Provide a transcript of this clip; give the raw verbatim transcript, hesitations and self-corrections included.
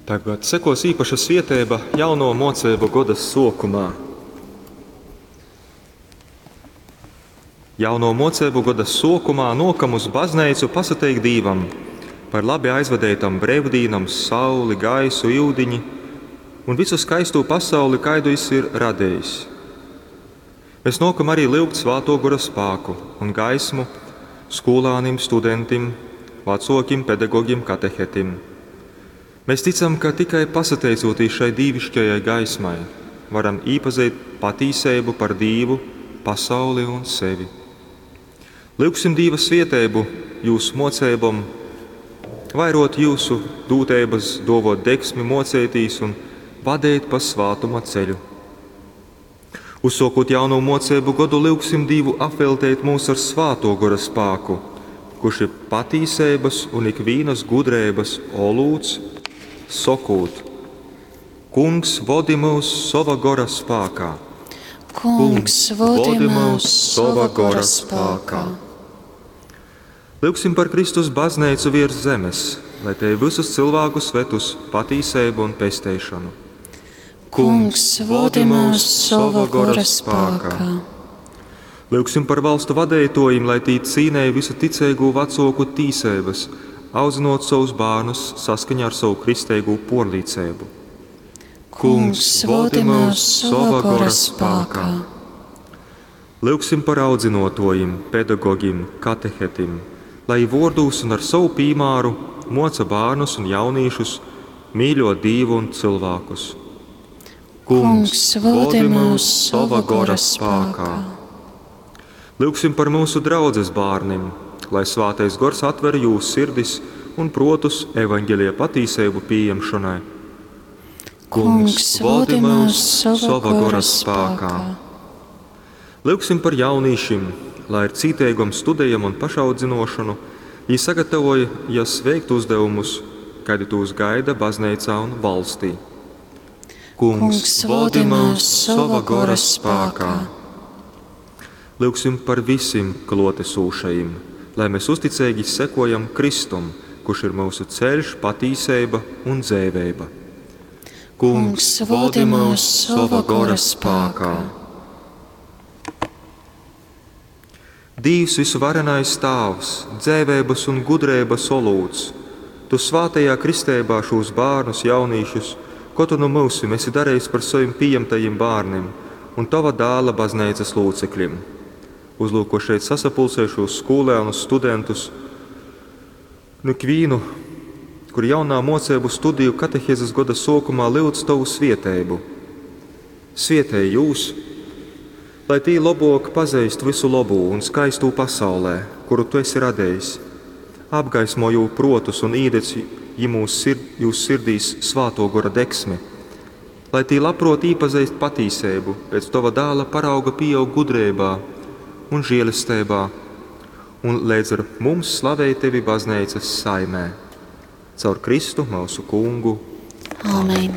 Tagad sekos īpaša svieteiba jauno moceibu goda suokumā. Jauno moceibu goda suokumā nuokam uz bazneicu pasateikt Dīvam par labi aizvadeitom breivdīnom, sauli, gaisu, iudiņi un visu skaistū pasauli, kaidu jis ir radejis. Mēs nuokam arī lyugt Svātuo Gora spāku un gaismu skūlānim, studentim, vacuokim, pedagogim, katehetim. Mēs ticam, ka tikai pasateicūtīs šai dīviškajai gaismai, varam īpazeit patīseibu par Dīvu, pasauli un sevi. Lyugsim Dīva svieteibu jūs moceibom, vairot jūsu dūteibas, duovot degsmi moceitīs un vadeit pa svātuma ceļu. Uzsokot jaunu moceibu godu, lyugsim Dīvu apvelteit mūs ar Svātuo Gora spāku, kurš ir patīseibas un ikvīnas gudreibas olūts, sokūt: Kungs, vodi mūs sova gora spākā. Kungs, vodi mūs sova gora spākā. Lyugsim par Kristus bazneicu virs zemes, lai te visus cilvēkus ved uz patīseibu un pesteišanu. Kungs, vodi mūs sova gora spākā. Lyugsim par valstu vadeitojim, lai tī cīnēja visu ticeigū vacoku tīseibas, audzinot savus bārnus saskaņā ar savu kristeigū porlīceibu. Kungs, vodi mūs sova gora spākā. Lyugsim par audzinotojim, pedagogim, katehetim, lai vordūs un ar savu pīmāru moca bārnus un jaunīšus mīļot Dīvu un cilvēkus. Kungs, vodi mūs sova gora spākā. Lyugsim par mūsu draudzes bārnim, lai Svātais Gors atver jūsu sirdis un protus evaņģelija patīseibu pieņemšanai. Kungs, vodi mūs sova gora spākā. Lyugsim par jaunīšim, lai ar cīteigom studejam un pašaudzinošanu jī sagatavojas veikt uzdevumus, kādi tūs gaida bazneicā un valstī. Kungs, vodi mūs sova gora spākā. Lyugsim par visiem klotesūšajim, lai mēs uzticīgi sekojam Kristum, kurš ir mūsu ceļš, patīseiba un dzēveiba. Kungs, vodi mūs sova gora spākā. Dīvs visuvarenais Tāvs, dzēveibas un gudreibas olūts, Tu svātajā kristeibā šūs bārnus, jaunīšus, ko Tu nu myusim esi darījis par saviem pieņemtajiem bārnim un Tava dāla bazneicas locekļiem. Uzlūko šeit sasapulcējušos skolēnus, studentus, nu ikvīnu, kur jaunā mocību studiju katehēzes goda sokumā lyudz Tavu svieteibu. Svietēj jūs, lai tī labok pazeist visu labū un skaistū pasaulē, kuru Tu esi radējis. Apgaismo jū protus un īdedz jimūs sird, jūs sirdīs Svāto Gora degsmi, lai tī labprot īpazeist patīseibu, pēc Tava dāla parauga pieaug gudrībā un žēlestībā, un līdz ar mums slavē Tevi bazneicas saimē. Caur Kristu mūsu Kungu. Āmen.